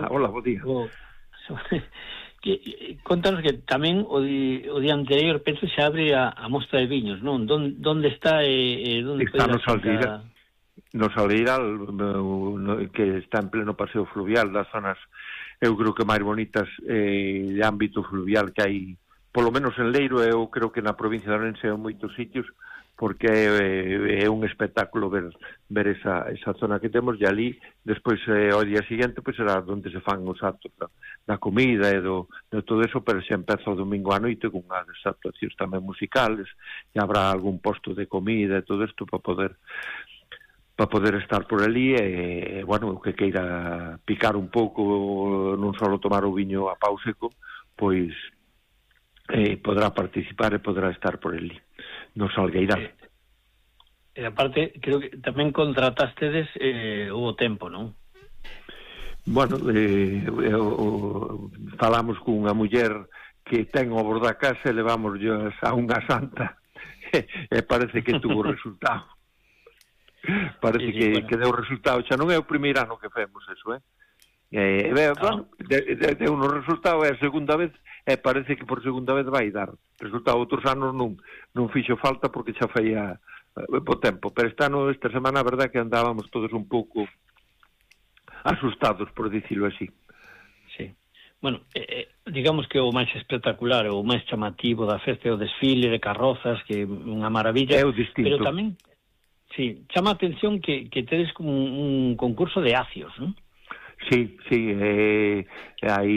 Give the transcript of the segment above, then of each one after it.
Hola, bo día. Contanos que tamén o día anterior penso se abre a mostra de viños, non? Donde está donde está no Salgueira, que está en pleno paseo fluvial das zonas, eu creo que máis bonitas de ámbito fluvial que hai, polo menos en Leiro, eu creo que na provincia de Ourense en moitos sitios, porque é un espectáculo ver esa zona que temos, e ali despois ao día seguinte pois será onde se fan os actos da comida e de todo eso, pero se empeza o domingo á noite con unhas actuacións tamén musicales, e habrá algún posto de comida e todo isto para poder estar por ali, e bueno, o que queira picar un pouco, non só tomar o viño a pau seco, pois podrá participar e podrá estar por ali no Salgueiral. E aparte, creo que tamén contratastedes o tempo, non? Bueno, falamos cunha muller que ten o borda a casa e levamos a unha santa e parece que tuvo resultado. Parece que deu resultado. Xa non é o primeiro ano que femos eso, bueno, deu un resultado, é a segunda vez, e parece que por segunda vez vai dar resultado. Outros anos non fixo falta porque xa faía po tempo, pero esta semana a verdade que andábamos todos un pouco asustados, por dicilo así. Sí. Bueno, digamos que o máis espectacular, o máis chamativo da festa é o desfile de carrozas, que é unha maravilla, é o distinto. Pero tamén, sí, chama a atención que tedes como un concurso de acios, non? Sí, hai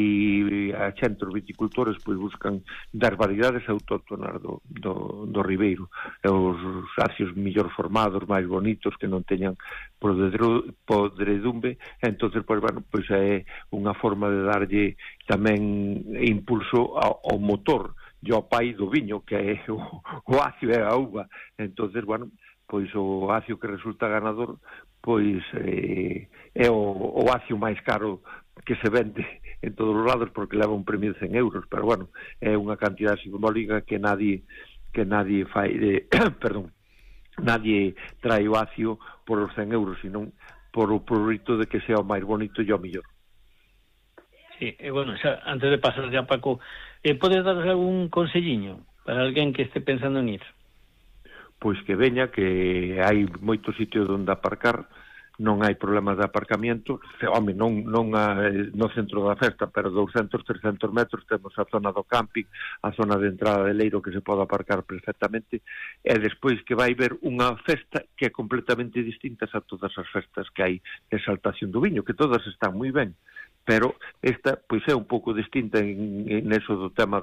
a xente, os viticultores pois buscan dar variedades autóctonas do Ribeiro, os acios mellor formados, máis bonitos, que non teñan podredumbre. Entonces, pois bueno, pois é unha forma de darlle tamén impulso ao motor e ao pai do viño, que é o acio e a uva. Entonces, bueno, pois o acio que resulta ganador pois é o acio máis caro que se vende en todos os lados, porque leva un premio de 100 euros, pero bueno, é unha cantidade simbólica que nadie fai perdón, nadie trae o acio por os 100 euros, senón por o prurito de que sea o máis bonito e o mellor. Sí, bueno, xa, antes de pasar ya, Paco, podes dar algún conselliño para alguén que esté pensando en ir? Pois que veña, que hai moitos sitios onde aparcar, non hai problemas de aparcamiento, non no centro da festa, pero 200, 300 metros temos a zona do camping, a zona de entrada de Leiro, que se pode aparcar perfectamente, e despois que vai ver unha festa que é completamente distinta a todas as festas que hai de exaltación do viño, que todas están moi ben, pero esta pois é un pouco distinta en eso do tema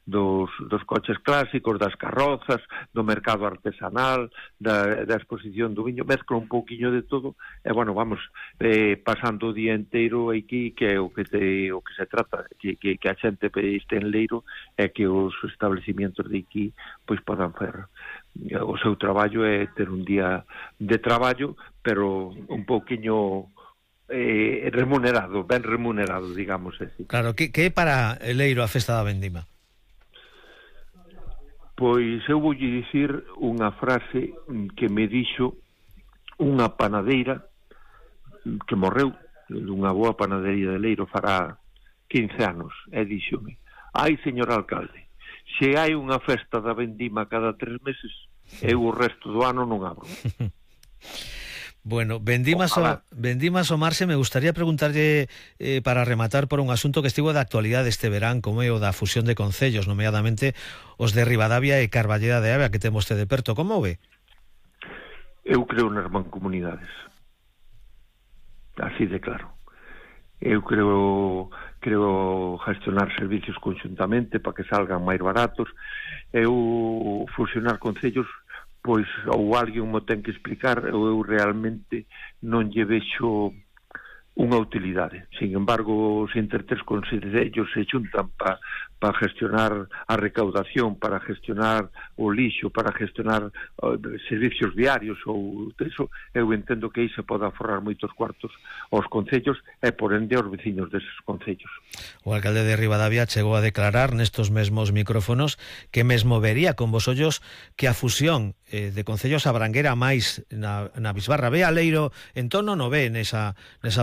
dos coches clásicos, das carrozas, do mercado artesanal, da exposición do viño, mezcla un pouquiño de todo, e bueno, vamos pasando o día inteiro aquí, que é o que se trata, que a xente este en Leiro, é que os establecimientos de aquí pois podan fer o seu traballo, e ter un día de traballo, pero un pouquiño remunerado, ben remunerado, digamos así. Claro, que é para Leiro a festa da vendima? Pois eu voulle dicir unha frase que me dixo unha panadeira que morreu, dunha boa panadería de Leiro, fará 15 anos, e díxome: ai, señor alcalde, se hai unha festa da vendima cada 3 meses, eu o resto do ano non abro. Bueno, Vendimas o Marse, me gustaría preguntarlle para rematar por un asunto que estivo de actualidade este verán, como é o da fusión de concellos, nomeadamente os de Ribadavia e Carballeda de Avia, que temos de perto. Como o ve? Eu creo nas mancomunidades, así de claro. Eu creo gestionar servicios conxuntamente para que salgan máis baratos. Eu fusionar concellos, pois ou alguén mo ten que explicar, ou eu realmente non lle vexo unha utilidade. Sin embargo, se entre tres concellos se xuntan para gestionar a recaudación, para gestionar o lixo, para gestionar servicios viarios ou eso, eu entendo que aí se pode aforrar moitos cuartos aos concellos e por ende aos veciños deses concellos. O alcalde de Ribadavia chegou a declarar nestos mesmos micrófonos que mesmo vería con vos ollos que a fusión de concellos abranguera máis na bisbarra. Ve a Leiro en torno, non ve nesa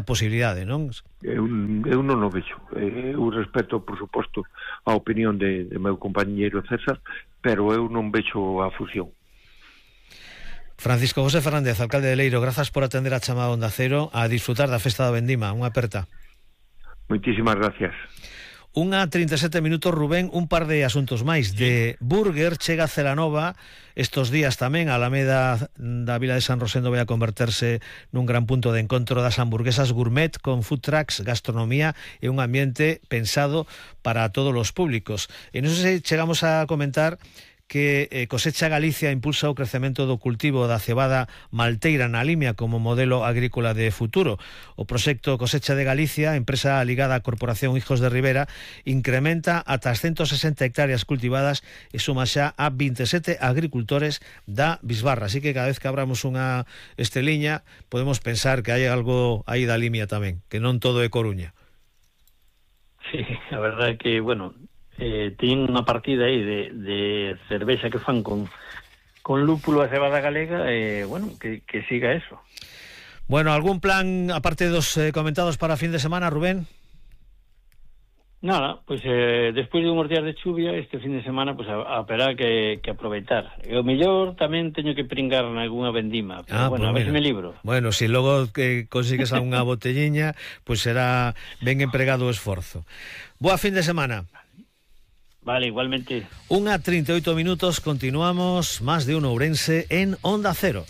posibilidade, non? Eu non o vexo. Eu respeto, por suposto, a opinión de meu compañeiro César, pero eu non vexo a fusión. Francisco José Fernández, alcalde de Leiro, grazas por atender a chamada Onda Cero, a disfrutar da festa da vendima. Unha aperta. Moitísimas gracias. 1:37 minutos, Rubén, un par de asuntos máis. De Burger chega a Celanova estos días tamén. A Alameda da Vila de San Rosendo vai a converterse nun gran punto de encontro das hamburguesas gourmet con food trucks, gastronomía e un ambiente pensado para todos os públicos. E non sei se chegamos a comentar que Cosecha Galicia impulsa o crecemento do cultivo da cebada malteira na Limia como modelo agrícola de futuro. O proxecto Cosecha de Galicia, empresa ligada á Corporación Hijos de Ribera, incrementa ata as 160 hectáreas cultivadas e suma xa a 27 agricultores da Bisbarra. Así que cada vez que abramos unha esteliña podemos pensar que hai algo aí da Limia tamén, que non todo é Coruña. Sí, a verdade é que, bueno, tiñen unha partida aí de cervexa que fan con lúpulo a cebada galega, bueno, que siga eso. Bueno, algún plan, aparte dos comentados para fin de semana, Rubén? Nada, pues despois de unhos días de chuvia, este fin de semana pues haberá que aproveitar. E o mellor tamén teño que pringar nalgúna vendima, pero bueno, pues a ver se me libro. Bueno, se logo que consigues algunha botelliña, pues será ben empregado o esforzo. Boa fin de semana. Vale, igualmente. 1:38 minutos, continuamos, Más de Uno Ourense en Onda Cero.